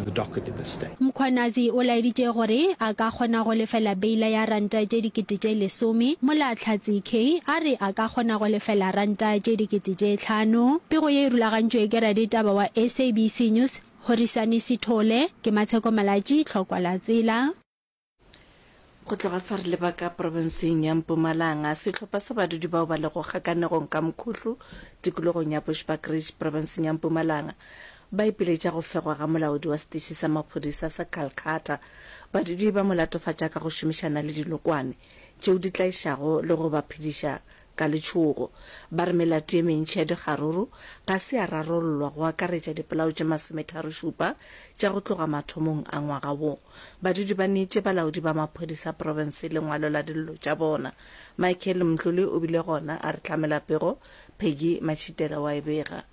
the docket in this state. Mkhwanazi o laeditše gore a ka kgona go lefela beila ya ranta tše 10,000, mola Hlatse Kay a re a ka kgona go lefela ranta tše 5000. Pego ye e rulagantšwe ke raditaba wa SABC News, Horisani Sithole. Ke Matsheko Malatji, Tlhokwa la Tsela. Go tloga fa re leba ka profenseng ya Mpumalanga, sehlopha sa badudi bao ba lego kgakanegong ka Mkhuhlu tikologong ya Bushbuckridge profenseng ya Mpumalanga ba ipiletša go fegwa ga molaodi wa setiši sa maphodisa sa Calcutta. Badudi ba mo latofatša ka go šomišana le dinokwane tšeo di tlaišago le go ba phediša ka letšhogo. Ba re melato ye mentši ya dikgaruru ga se ya rarollwa go akaretša dipolao tše masometharošupa tša go tloga mathomong a ngwaga wo. Badudi ba neetše balaodi ba maphodisa profense lengwalo la dillo tša bona. Michael Mdluli o bile gona a re hlamela pego, Peggy Matšhitela wa e bega.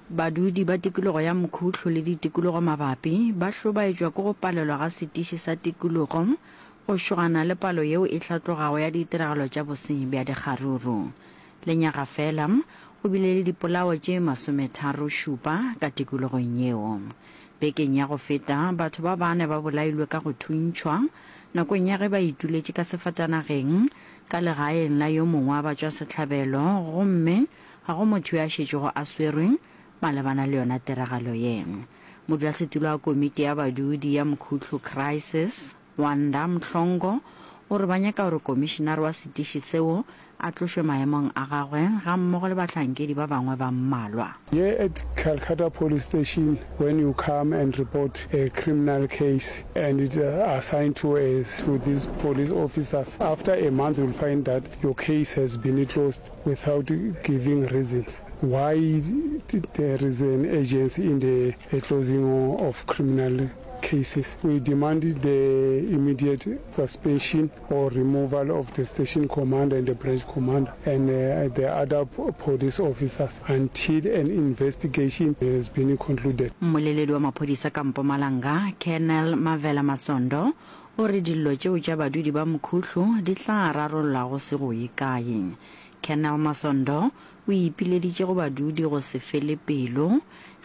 Badudi ba tikologo ya Mkhuhlu le ditikologo mabapi ba hlobaetšwa ke go palelwa ga setiši sa tikologo go šogana le palo yeo e hlatlogago ya ditiragalo tša bosenyi bja dikgaruru. Lenyaga fela, go bile le dipolao tše masometharošupa ka tikologong yeo. Bekeng ya go feta, batho ba bane ba bolailwe ka go thuntšhwa nakong ya ge ba ituletše ka sefatanageng ka legaeng la yo mongwe wa batšwasehlabelo gomme Ga go motho yo a šetšego a swerwe malebana le yona tiragalo ye. Modulasetulo wa komiti ya badudi ya Mkhuhlu Crisis, Wanda Mhlongo, o re ba nyaka gore komišinare wa setiši seo a tlošwe maemong a gagwe gammogo le bahlankedi ba bangwe ba mmalwa. Here at Calcutta Police Station when you come and report a criminal case and it assigned to a to these police officers after a month you'll find that your case has been closed without giving reasons why there is an urgency in the closing of criminal cases. We demand the immediate suspension or removal of the station commander and the branch commander and uh, the other police officers until an investigation has been concluded. Mmoleledi wa maphodisa ka Mpumalanga, Colonel Mavela Masondo, O re dillo tšeo tša badudi ba Mkhuhlu di tla rarollwa go se go ye kae. Colonel Masondo o ipileditše go badudi go se fele pelo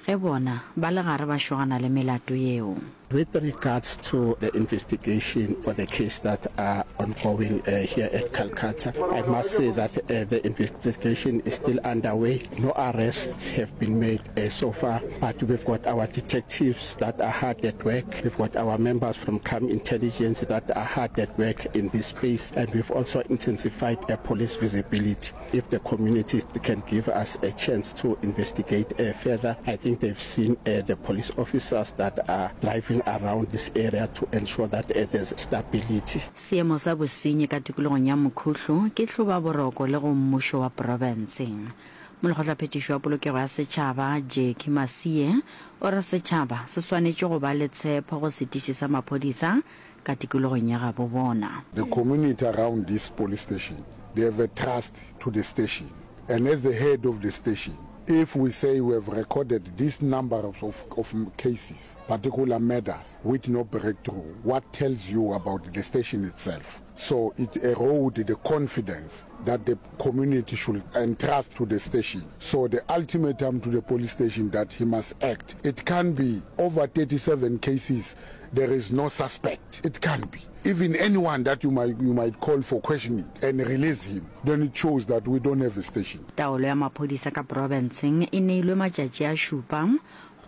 ge bona ba le gare ba šogana le melato yeo. With regards to the investigation or the case that are ongoing here at Calcutta, I must say that the investigation is still underway. No arrests have been made so far, but we've got our detectives that are hard at work. We've got our members from crime intelligence that are hard at work in this space, and we've also intensified uh, police visibility. If the community can give us a chance to investigate uh, further, I think they've seen uh, the police officers that are driving around this area to ensure that uh, there's stability. Seemo sa bosenyi ka tikologong ya Mkhuhlu ke hlobaboroko le go mmušo wa profense. Molekgotlaphethiši wa Polokego ya Setšhaba, Jackie Masie, o re setšhaba se swanetše go ba le tshepo go setiši sa maphodisa ka tikologong ya gabo bona. The community around this police station, they have a trust to the station and as the head of the station, if we say we have recorded this number of, of cases, particular murders, with no breakthrough, what tells you about the station itself? So it erode the confidence that the community should entrust to the station. So the ultimatum to the police station that he must act. It can't be over 37 cases there is no suspect. It can't be. Even anyone that you might, you might call for questioning and release him, then it shows that we don't have a station. Taolo ya maphodisa ka profenseng e neilwe matšatši a šupa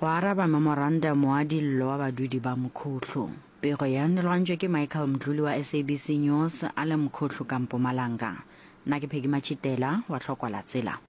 go araba memorandamo wa dillo wa badudi ba Mkhuhlu. Pego ye e lwantšwe ke Michael Mdluli wa SABC News a le Mkhuhlu ka Mpumalanga. Nna ke Peggy Matšhitela wa Tlhokwa la Tsela.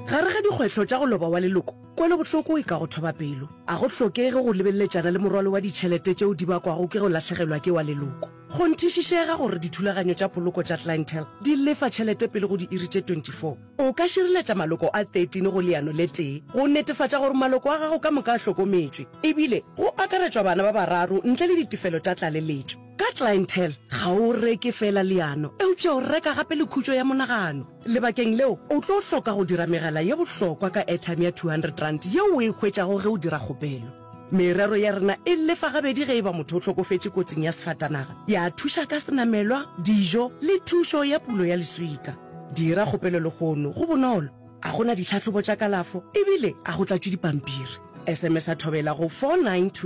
Gare ga dikgwetlho tša go loba wa leloko, kwelobohloko e ka go thoba pelo. A go hlokege go lebeleletšana le morwalo wa ditšhelete tšeo di bakwago ke go lahlegelwa ke wa leloko. Kgonthišišega gore dithulaganyo tša poloko tša Clientele di lefa tšhelete pele go diiri tše 24. O ka šireletša maloko a 13 go leano le tee go netefatša gore maloko a gago ka moka a hlokometšwe, ebile go akaretšwa bana ba bararo ntle le ditefelo tša tlaleletšo. Ka Clientele, ga o reke feela leano, eupša o reka gape le khutšo ya monagano. Lebakeng leo, o tlo hloka go dira megala ye bohlokwa ka airtime ya R200 yeo o e hwetšago ge o dira kgopelo. Merero ya rena e lefa gabedi ge e ba motho o hlokofetše kotsing ya sefatanaga, ya thuša ka senamelwa, dijo le thušo ya pulo ya leswika. Dira kgopelo lehono, go bonolo, a go na ditlhahlobo tša kalafo ebile a go tlatšwe dipampiri. SMS-a Thobela go 4920.